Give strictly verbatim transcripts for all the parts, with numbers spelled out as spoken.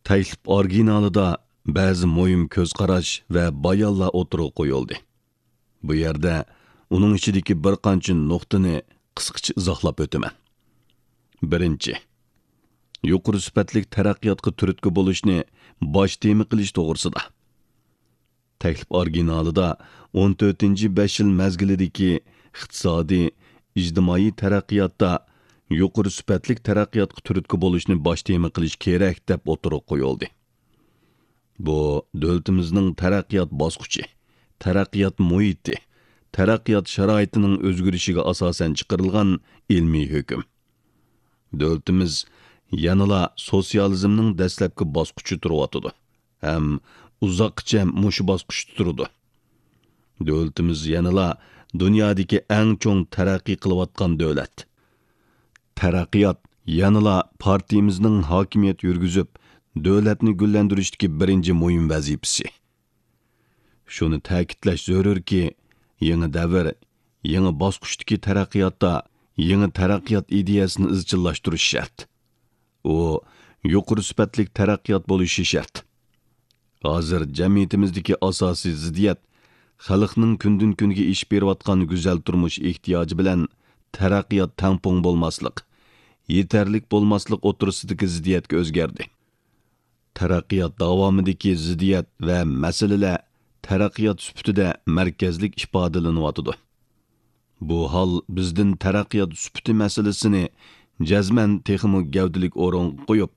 تەكلىپ ئورىگىنالىدا بەزى مۇھىم كۆز قاراش ۋە بايانلار ئوتتۇرىغا قويۇلدى. بۇ يەردە ئۇنىڭ ئىچىدىكى بىر قانچە نۇقتىنى قىسقىچە ئىزاھلاپ ئۆتىمەن. بىرىنچى، يۇقىرى سۈپەتلىك تەرەققىياتقا تۈرتكە بولۇشنى باش تېما قىلىش توغرىسىدا. تەكلىپ ئورىگىنالىدا ئون تۆتىنچى بەش يىل مەزگىلىدىكى ئىقتىسادىي، ئىجتىمائىي تەرەققىياتتا يۇقىرى سۈپەتلىك تەرەققىياتقا تۈرتكە بولۇشنى باش تېما قىلىش كېرەك، دەپ ئوتتۇرىغا قويۇلدى. بۇ دۆلىتىمىزنىڭ تەرەققىيات باسقۇچى، تەرەققىيات مۇھىتى، تەرەققىيات شارائىتىنىڭ ئۆزگىرىشىگە ئاساسەن چىقىرىلغان ئىلمىي ھۆكۈم. دۆلىتىمىز يەنىلا سوتسىيالىزمنىڭ دەسلەپكى باسقۇچىدا تۇرۇۋاتىدۇ ھەم ئۇزاققىچە مۇشۇ باسقۇچتا تۇرىدۇ. دۆلىتىمىز يەنىلا دۇنيادىكى ئەڭ چوڭ تەرەققىي قىلىۋاتقان دۆلەت. تەرەققىيات يەنىلا پارتىيىمىزنىڭ ھاكىمىيەت يۈرگۈزۈپ، دۆلەتنى گۈللەندۈرۈشتىكى بىرىنچى مۇھىم ۋەزىپىسى. شۇنى تەكىتلەش زۆرۈركى، يېڭى دەۋر، يېڭى باسقۇچتىكى تەرەققىياتتا يېڭى تەرەققىيات ئىدىيەسىنى ئىزچىللاشتۇرۇش شەرت. ئۇ يۇقىرى سۈپەتلىك تەرەققىيات بولۇشى شەرت. ھازىر جەمئىيىتىمىزدىكى ئاساسىي زىددىيەت خەلقنىڭ كۈندىن-كۈنگە ئېشىپ بېرىۋاتقان گۈزەل تۇرمۇش ئېھتىياجى بىلەن تەرەققىيات تەڭپۇڭ بولماسلىق، يېتەرلىك بولماسلىق ئوتتۇرىسىدىكى زىددىيەتكە ئۆزگەردى. تەرەققىيات داۋامىدىكى زىددىيەت ۋە مەسىلىلەر تەرەققىيات سۈپىتىدە مەركەزلىك ئىپادىلىنىۋاتىدۇ. بۇ ھال بىزدىن تەرەققىيات سۈپىتى مەسىلىسىنى جەزمەن تېخىمۇ گەۋدىلىك ئورۇنغا قويۇپ،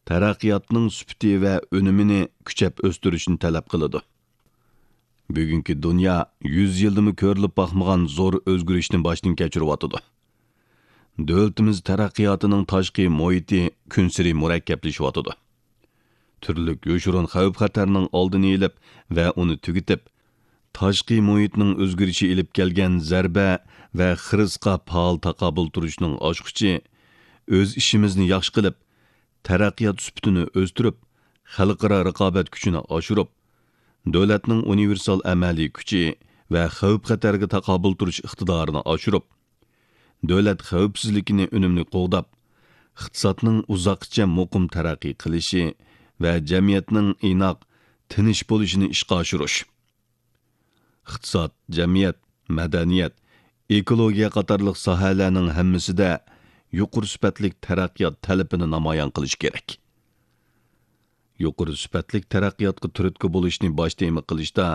تەرەققىياتنىڭ سۈپىتى ۋە ئۈنۈمىنى كۈچەپ ئۆستۈرۈشنى تەلەپ قىلىدۇ. بۈگۈنكى دۇنيا يۈز يىلدىمۇ كۆرۈلۈپ باقمىغان زور ئۆزگىرىشنى باشتىن كەچۈرۈۋاتىدۇ. دۆلىتىمىز تەرەققىياتىنىڭ تاشقى مۇھىتى كۈنسېرى مۇرەككەپلىشىۋاتىدۇ. تۈرلۈك يوشۇرۇن خەۋپ-خەتەرنىڭ ئالدىنى ئېلىپ ۋە ئۇنى تۈگىتىپ، تاشقى مۇھىتنىڭ ئۆزگىرىشى ئېلىپ كەلگەن زەربە ۋە خىرىسقا پائال تاقابىل تۇرۇشنىڭ ئاچقۇچى، ئۆز ئىشىمىزنى ياخشى قىلىپ، تەرەققىيات سۈپىتىنى ئۆستۈرۈپ، خەلقئارا رىقابەت كۈچىنى ئاشۇرۇپ، دۆلەتنىڭ ئۇنىۋېرسال ئەمەلىي كۈچى ۋە خەۋپ-خەتەرگە تاقابىل تۇرۇش ئىقتىدارىنى ئاشۇرۇپ، دۆلەت خەۋپسىزلىكىنى ئۈنۈملۈك قوغداپ، ئىقتىسادنىڭ ئۇزاققىچە مۇقىم تەرەققىي قىلىشى ۋە جەمئىيەتنىڭ ئىناق، تىنچ بولۇشىنى ئىشقا ئاشۇرۇش. ئىقتىساد، جەمئىيەت، مەدەنىيەت، ئېكولوگىيە قاتارلىق ساھەلەرنىڭ ھەممىسىدە يۇقىرى سۈپەتلىك تەرەققىيات تەلىپىنى نامايان قىلىش كېرەك. يۇقىرى سۈپەتلىك تەرەققىياتقا تۈرتكە بولۇشنى باش تېما قىلىشتا،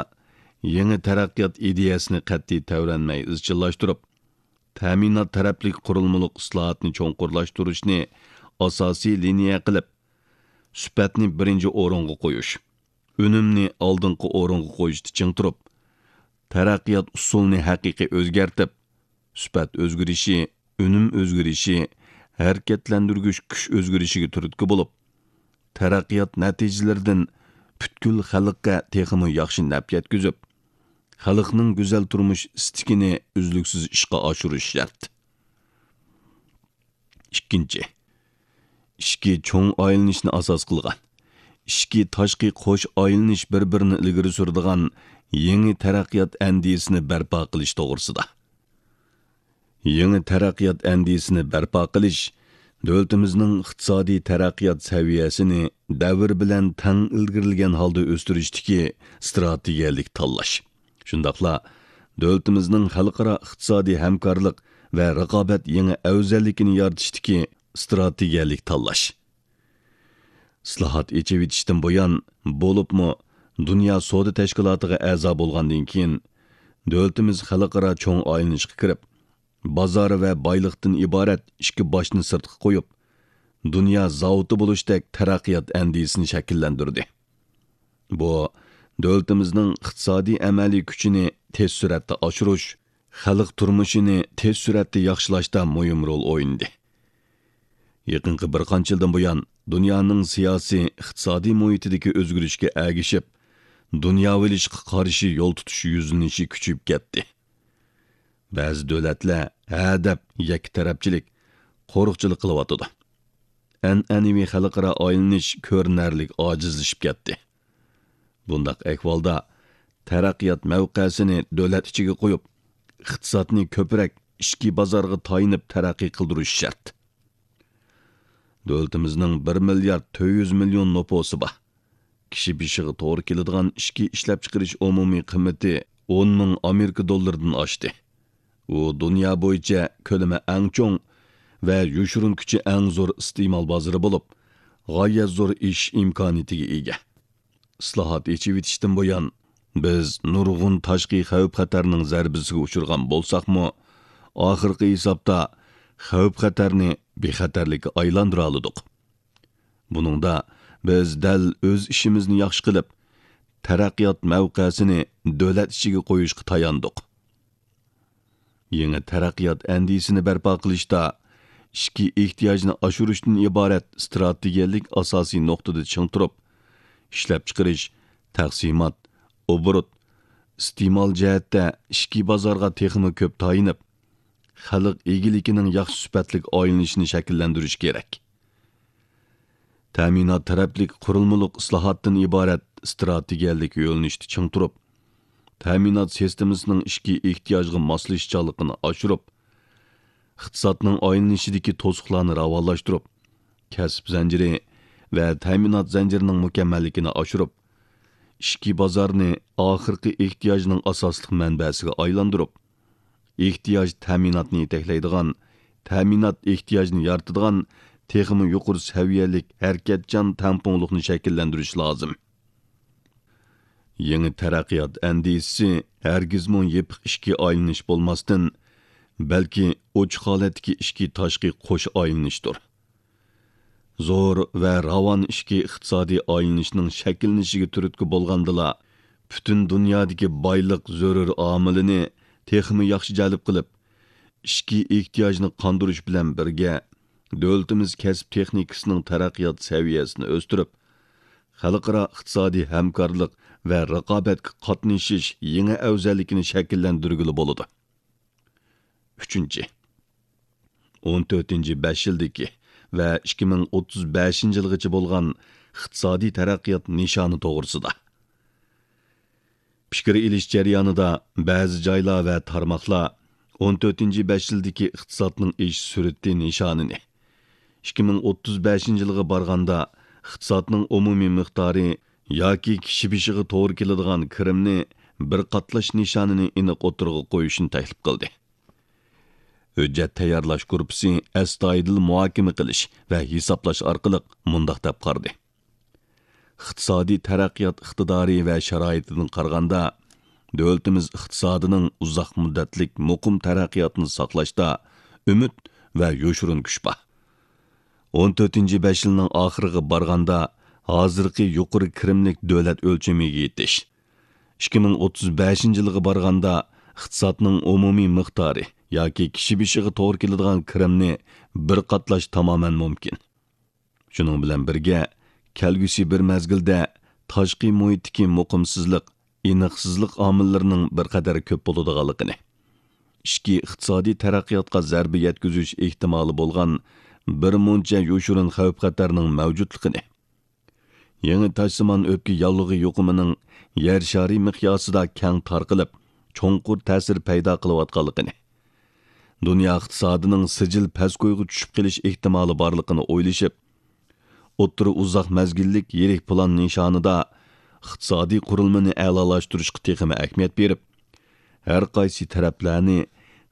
يېڭى تەرەققىيات ئىدىيەسىنى قەتئىي تەۋرەنمەي ئىزچىللاشتۇرۇپ، تەمىنات تەرەپلىك قۇرۇلمىلىق ئىسلاھاتنى چوڭقۇرلاشتۇرۇشنى ئاساسىي لىنىيە قىلىپ، سۈپەتنى بىرىنچى ئورۇنغا قويۇش، ئۈنۈمنى ئالدىنقى ئورۇنغا قويۇشتا چىڭ تۇرۇپ، تەرەققىيات ئۇسۇلىنى ھەقىقىي ئۆزگەرتىپ، سۈپەت ئۆزگىرىشى، ئۈنۈم ئۆزگىرىشى، ھەرىكەتلەندۈرگۈچ كۈچ ئۆزگىرىشىگە تۈرتكە بولۇپ، تەرەققىيات نەتىجىلىرىدىن پۈتكۈل خەلققە تېخىمۇ ياخشى نەپ يەتكۈزۈپ، خەلقنىڭ گۈزەل تۇرمۇش ئىستىكىنى ئۈزلۈكسىز ئىشقا ئاشۇرۇش شەرت. ئىككىنچى، ئىچكى چوڭ ئايلىنىشنى ئاساس قىلغان، ئىچكى تاشقى قوش ئايلىنىش بىر-بىرىنى ئىلگىرى سۈرىدىغان يېڭى تەرەققىيات ئەندىزىسىنى بەرپا قىلىش توغرىسىدا. يېڭى تەرەققىيات ئەندىزىسىنى بەرپا قىلىش، دۆلىتىمىزنىڭ ئىقتىسادىي تەرەققىيات سەۋىيەسىنى دەۋر بىلەن تەڭ ئىلگىرىلىگەن ھالدا ئۆستۈرۈشتىكى ئىستراتېگىيەلىك تاللاش، شۇنداقلا دۆلىتىمىزنىڭ خەلقئارا ئىقتىسادىي ھەمكارلىق ۋە رىقابەت يېڭى ئەۋزەللىكىنى يارىتىشتىكى ئىستراتېگىيەلىك تاللاش. ئىسلاھات، ئېچىۋېتىشتىن بۇيان، بولۇپمۇ دۇنيا سودا تەشكىلاتىغا ئەزا بولغاندىن كېيىن، دۆلىتىمىز خەلقئارا چوڭ ئايلىنىشقا كىرىپ، بازار ۋە بايلىقتىن ئىبارەت ئىككى باشنى سىرتقا قويۇپ، دۇنيا زاۋۇتى بولۇشتەك تەرەققىيات ئەندىزىسىنى شەكىللەندۈردى. بۇ، دۆلىتىمىزنىڭ ئىقتىسادىي ئەمەلىي كۈچىنى تېز سۈرئەتتە ئاشۇرۇش، خەلق تۇرمۇشىنى تېز سۈرئەتتە ياخشىلاشتا مۇھىم رول ئوينىدى. يېقىنقى بىر قانچە يىلدىن بۇيان، دۇنيانىڭ سىياسىي، ئىقتىسادىي مۇھىتىدىكى ئۆزگىرىشكە ئەگىشىپ، دۇنياۋىلىشىشقا قارشى يول تۇتۇش يۈزلىنىشى كۈچىيىپ كەتتى. بەزى دۆلەتلەر ھە دەپ يەككە تەرەپچىلىك، قورۇقچىلىق قىلىۋاتىدۇ. ئەنئەنىۋى خەلقئارا ئايلىنىش كۆرۈنەرلىك ئاجىزلىشىپ كەتتى. بۇنداق ئەھۋالدا تەرەققىيات مەۋقەسىنى دۆلەت ئىچىگە قويۇپ، ئىقتىسادنى كۆپرەك ئىچكى بازارغا تايىنىپ تەرەققىي قىلدۇرۇش شەرت. دۆلىتىمىزنىڭ بىر مىليارد تۆت يۈز مىليون نوپۇسى بار. كىشى بېشىغا توغرا كېلىدىغان ئىچكى ئىشلەپچىقىرىش ئومۇمىي قىممىتى ئون مىڭ ئامېرىكا دوللىرىدىن ئاشتى. ئۇ دۇنيا بويىچە كۆلىمى ئەڭ چوڭ ۋە يوشۇرۇن كۈچى ئەڭ زور ئىستېمال بازىرى بولۇپ، غايەت زور ئېشىش ئىمكانىيىتىگە ئىگە. ئىسلاھات، ئېچىۋېتىشتىن بۇيان، بىز نۇرغۇن تاشقى خەۋپ-خەتەرنىڭ زەربىسىگە ئۇچرىغان بولساقمۇ، ئاخىرقى ھېسابتا خەۋپ-خەتەرنى بىخەتەرلىككە ئايلاندۇرالىدۇق. بۇنىڭدا بىز دەل ئۆز ئىشىمىزنى ياخشى قىلىپ، تەرەققىيات مەۋقەسىنى دۆلەت ئىچىگە قويۇشقا تاياندۇق. يېڭى تەرەققىيات ئەندىزىسىنى بەرپا قىلىشتا ئىچكى ئېھتىياجنى ئاشۇرۇشتىن ئىبارەت ئىستراتېگىيەلىك ئاساسىي نۇقتىدا چىڭ تۇرۇپ، ئىشلەپچىقىرىش، تەقسىمات، ئوبوروت، ئىستېمال جەھەتتە ئىچكى بازارغا تېخىمۇ كۆپ تايىنىپ، خەلق ئىگىلىكىنىڭ ياخشى سۈپەتلىك ئايلىنىشىنى شەكىللەندۈرۈش كېرەك. تەمىنات تەرەپلىك قۇرۇلمىلىق ئىسلاھاتتىن ئىبارەت ئىستراتېگىيەلىك يۆنىلىشتە چىڭ تۇرۇپ، تەمىنات سىستېمىسىنىڭ ئىچكى ئېھتىياجغا ماسلىشىشچانلىقىنى ئاشۇرۇپ، ئىقتىسادنىڭ ئايلىنىشىدىكى توسۇقلارنى راۋانلاشتۇرۇپ، كەسىپ زەنجىرى ۋە تەمىنات زەنجىرىنىڭ مۇكەممەللىكىنى ئاشۇرۇپ، ئىچكى بازارنى ئاخىرقى ئېھتىياجنىڭ ئاساسلىق مەنبەسىگە ئايلاندۇرۇپ، ئېھتىياج تەمىناتنى يېتەكلەيدىغان، تەمىنات ئېھتىياجنى يارىتىدىغان تېخىمۇ يۇقىرى سەۋىيەلىك ھەرىكەتچان تەڭپۇڭلۇقنى شەكىللەندۈرۈش لازىم. يېڭى تەرەققىيات ئەندىزىسى ھەرگىزمۇ يېپىق ئىچكى ئايلىنىش بولماستىن، بەلكى ئوچۇق ھالەتتىكى ئىچكى تاشقى قوش ئايلىنىشتۇر. زور ۋە راۋان ئىچكى ئىقتىسادىي ئايلىنىشنىڭ شەكىللىنىشىگە تۈرتكە بولغاندىلا، پۈتۈن دۇنيادىكى بايلىق زۆرۈر ئامىلىنى تېخىمۇ ياخشى جەلپ قىلىپ، ئىچكى ئېھتىياجنى قاندۇرۇش بىلەن بىرگە، دۆلىتىمىز كەسىپ تېخنىكىسىنىڭ تەرەققىيات سەۋىيەسىنى ئۆستۈرۈپ، خەلقئارا ئىقتىسادىي ھەمكارلىق ۋە رىقابەتكە قاتنىشىش يېڭى ئەۋزەللىكىنى شەكىللەندۈرگىلى بولىدۇ. ئۈچىنچى، ئون تۆتىنچى بەش يىلدىكى ۋە ئىككى مىڭ ئوتتۇز بەشىنچى يىلغىچە بولغان ئىقتىسادىي تەرەققىيات نىشانى توغرىسىدا. پىكىر ئېلىش جەريانىدا بەزى جايلار ۋە تارماقلار ئون تۆتىنچى بەش يىلدىكى ئىقتىسادنىڭ ئېشىش سۈرئىتى نىشانىنى، ئىككى مىڭ ئوتتۇز بەشىنچى يىلغا بارغاندا ئىقتىسادنىڭ ئومۇمىي مىقدارى ياكى كىشى بېشىغا توغرا كېلىدىغان كىرىمنى بىر قاتلاش نىشانىنى ئېنىق ئوتتۇرىغا قويۇشنى تەكلىپ قىلدى. ھۆججەت تەييارلاش گۇرۇپپىسى ئەستايىدىل مۇھاكىمە قىلىش ۋە ھېسابلاش ئارقىلىق مۇنداق دەپ قارىدى: ئىقتىسادىي تەرەققىيات ئىقتىدارى ۋە شارائىتىدىن قارىغاندا، دۆلىتىمىز ئىقتىسادىنىڭ ئۇزاق مۇددەتلىك مۇقىم تەرەققىياتىنى ساقلاشتا ئۈمىد ۋە يوشۇرۇن كۈچ بار. ئون تۆتىنچى بەش يىلنىڭ ئاخىرىغا بارغاندا، ھازىرقى يۇقىرى كىرىملىك دۆلەت ئۆلچىمىگە يېتىش، ئىككى مىڭ ئوتتۇز بەشىنچى يىلغا بارغاندا، ئىقتىسادنىڭ ئومۇمىي مىقدارى ياكى كىشى بېشىغا توغرا كېلىدىغان كىرىمنى بىر قاتلاش تامامەن مۇمكىن. شۇنىڭ بىلەن بىرگە، كەلگۈسى بىر مەزگىلدە تاشقى مۇھىتتىكى مۇقىمسىزلىق، ئېنىقسىزلىق ئامىللىرىنىڭ بىر قەدەر كۆپ بولىدىغانلىقىنى، ئىچكى ئىقتىسادىي تەرەققىياتقا زەربە يەتكۈزۈش ئېھتىمالى بولغان بىر مۇنچە يوشۇرۇن خەۋپ-خەتەرنىڭ مەۋجۇتلۇقىنى، يېڭى تاشسىمان ئۆپكە ياللۇغى يۇقۇمىنىڭ يەر شارى مىقياسىدا كەڭ تارقىلىپ، چوڭقۇر تەسىر پەيدا قىلىۋاتقانلىقىنى، دۇنيا ئىقتىسادىنىڭ سىجىل پەسكويغا چۈشۈپ قېلىش ئېھتىمالى بارلىقىنى ئويلىشىپ، ئوتتۇرا ئۇزاق مەزگىللىك يىرىك پىلان نىشانىدا ئىقتىسادىي قۇرۇلمىنى ئەلالاشتۇرۇشقا تېخىمۇ ئەھمىيەت بېرىپ، ھەر قايسى تەرەپلەرنى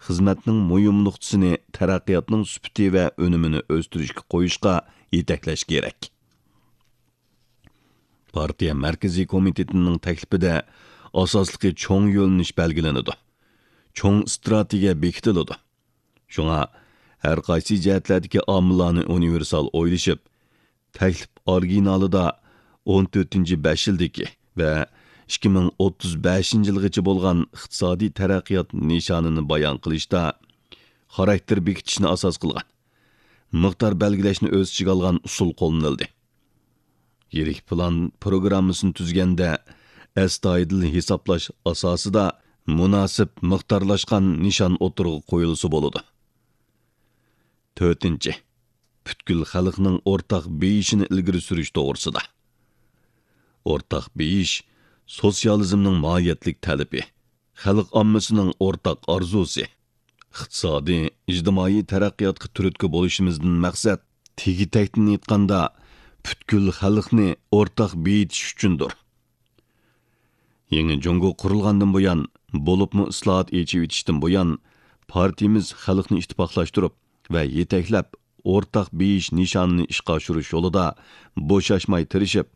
خىزمەتنىڭ مۇھىم نۇقتىسىنى تەرەققىياتنىڭ سۈپىتى ۋە ئۈنۈمىنى ئۆستۈرۈشكە قويۇشقا يېتەكلەش كېرەك. پارتىيە مەركىزىي كومىتېتىنىڭ تەكلىپىدە ئاساسلىقى چوڭ يۆنىلىش بەلگىلىنىدۇ. چوڭ ئىستراتېگىيە بېكىتىلىدۇ. شۇڭا ھەر قايسى جەھەتلەردىكى ئامىللارنى ئۇنىۋېرسال ئويلىشىپ، تەكلىپ ئورىگىنالىدا ئون تۆتىنچى بەش يىلدىكى ۋە ئىككى مىڭ ئوتتۇز بەشىنچى يىلغىچە بولغان ئىقتىسادىي تەرەققىيات نىشانىنى بايان قىلىشتا خاراكتېر بېكىتىشنى ئاساس قىلغان، مىقدار بەلگىلەشنى ئۆز ئىچىگە ئالغان ئۇسۇل قوللىنىلدى. يىرىك پىلان پروگراممىسىنى تۈزگەندە، ئەستايىدىل ھېسابلاش ئاساسىدا مۇناسىپ مىقدارلاشقان نىشان ئوتتۇرىغا قويۇلسا بولىدۇ. تۆتىنچى، پۈتكۈل خەلقنىڭ ئورتاق بېيىشىنى ئىلگىرى سۈرۈش توغرىسىدا. ئورتاق بېيىش سوتسىيالىزمنىڭ ماھىيەتلىك تەلىپى، خەلق ئاممىسىنىڭ ئورتاق ئارزۇسى. ئىقتىسادىي، ئىجتىمائىي تەرەققىياتقا تۈرتكە بولۇشىمىزدىن مەقسەت تېگى-تەكتىن ئېيتقاندا، پۈتكۈل خەلقنى ئورتاق بېيىتىش ئۈچۈندۇر. يېڭى جۇڭگو قۇرۇلغاندىن بۇيان، بولۇپمۇ ئىسلاھات، ئېچىۋېتىشتىن بۇيان، پارتىيىمىز خەلقنى ئىتتىپاقلاشتۇرۇپ ۋە يېتەكلەپ، ئورتاق بېيىش نىشانىنى ئىشقا ئاشۇرۇش يولىدا بوشاشماي تىرىشىپ،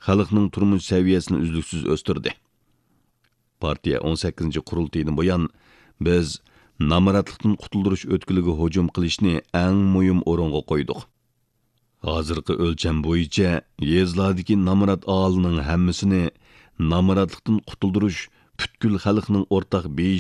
خەلقنىڭ تۇرمۇش سەۋىيەسىنى ئۈزلۈكسىز ئۆستۈردى. پارتىيە ئون سەككىزىنچى قۇرۇلتىيىدىن بۇيان، بىز نامراتلىقتىن قۇتۇلدۇرۇش ئۆتكىلىگە ھۇجۇم قىلىشنى ئەڭ مۇھىم ئورۇنغا قويدۇق. ھازىرقى ئۆلچەم بويىچە، يېزىلاردىكى نامرات ئاھالىنىڭ ھەممىسىنى نامراتلىقتىن قۇتۇلدۇرۇش پۈتكۈل خەلقنىڭ ئورتاق بېيىش